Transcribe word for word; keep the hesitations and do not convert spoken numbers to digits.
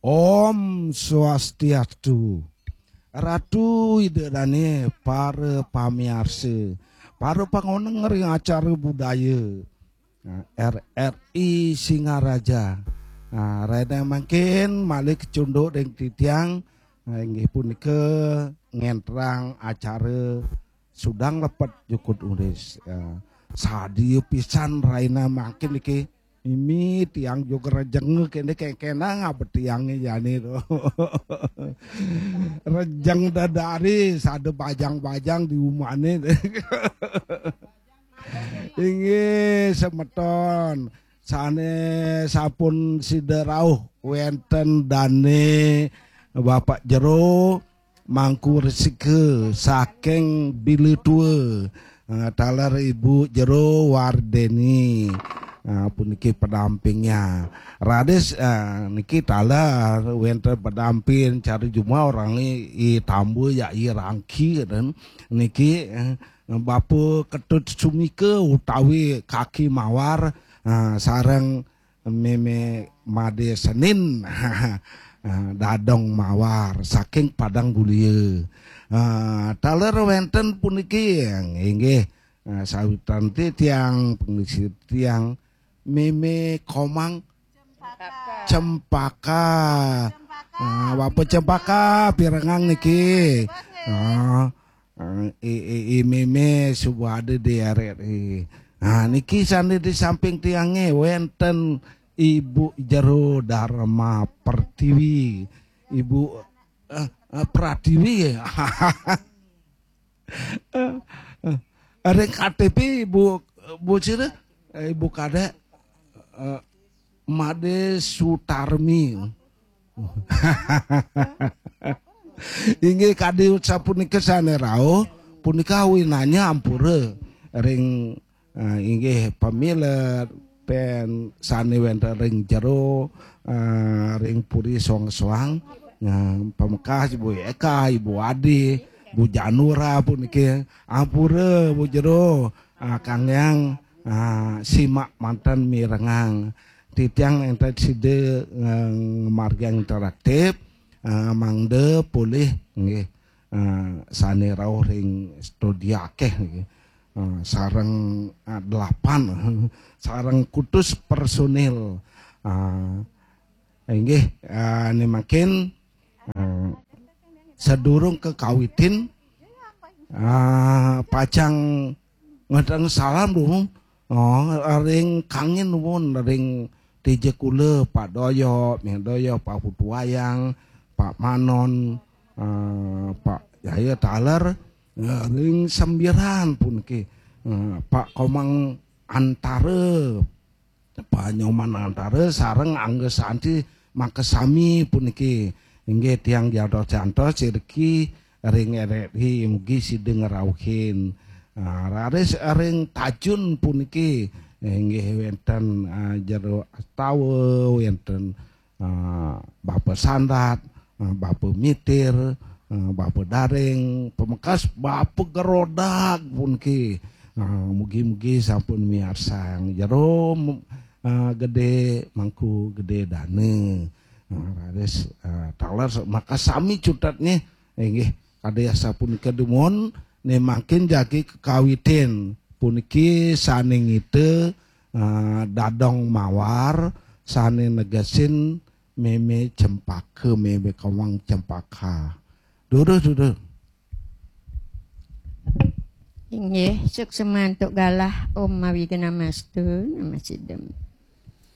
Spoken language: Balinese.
Om Swastiastu. Ratu Ida Dane, para pamiarsa, para pangoneng ring acara budaya, nah, R R I Singaraja. Nah, rahina mangkin malih kacunduk ring titiang, nah, inggih punika ngenterang acara Sudang Lepet Jukut Ulis. Ya, sadia pisan rahina mangkin niki. Mimi tiang juga rejeng kene kengkena ngaba tiange jani to. Rejeng dadari sada bajang-bajang di umane. Inggih semeton sane sampun sida rauh wenten dane Bapak Jero Mangku Resika saking Bila Tua. Ah, taler Ibu Jero Wardeni. Ah, puniki pendampingnya. Raris, ah, niki taler wenten pendamping cara jumah orang i, i tamba ya i rangki dan niki, eh, Bapa Ketut Sumika utawi Kaki Mawar, ah, sareng Meme Made Senin. Ah, Dadong Mawar saking Padang Gulia. Ah, taler wenten puniki inggih, ah, sawitan titiang, pengisi tiang Meme Komang Cempaka. Ah, Bapa Cempaka pirengang niki. Ah, eh, i, i, i Meme suba ada di R R I. Nah, niki sane di samping tiange wenten Ibu Jero Dharma Pertiwi. Ibu, eh, eh, Pratiwi ya. Eh, eh. Ada K T P Ibu, Bu Cire, eh, Ibu Kadek, eh, Made Sutarmi. Inggih kadi sapunika sane rauh, punika winanya ampura ring, eh, inggih pamilet pen sane wenten ring jero, eh, ring puri soang-soang. Nah, pamekas Ibu Eka, Ibu Adi, Bu Janura puniki. Ampura Bu Jero, ah, kangge, ah, simak manten mirengang. Titiang enten sida, eh, ngamargiang interaktif, ah, mangda polih nggih, ah, sane rauh ring studio akeh niki. Ah, sareng, ah, delapan, sareng kutus personil. Ah, inggih, ah, ne mangkin, ah, sadurung kakawitin, ah, pacang ngedang salam dulu. Oh, ring kangin nuwun, ring dija kula, Pak Doyo, Meh Doyo, Pak Putu Wayang, Pak Manon, eh, Pak Jaya taler, eh, ring Sembiran puniki, eh, Pak Komang Antara, Pak Nyoman Antara sareng Angga Santi makasami puniki. Inggih tiang jantos-jantos sirki ring R R I mugi sida ngrauhin. Ah, raris ring Tajun puniki inggih wenten, ah, Jero Astawa, wenten, ah, Bapa Sandat, ah, Bapa Mitir, ah, Bapa Daring, pamekas Bapa Gerodak puniki. Ah, mugi-mugi sampun miarsang Jero, ah, Gede Mangku Gede Dana. Ah, raris, ah, taler makasami cutetnya. Inggih, kadi asapunika dumun, ne mangkin jagi kakawitin. Puniki sane ngita, ah, Dadong Mawar, sane negesin Meme Cempaka, Meme Komang Cempaka. Duduh, duduh. Inggih, suksma antuk galah. Om Awighnam Astu, Namah Siddham.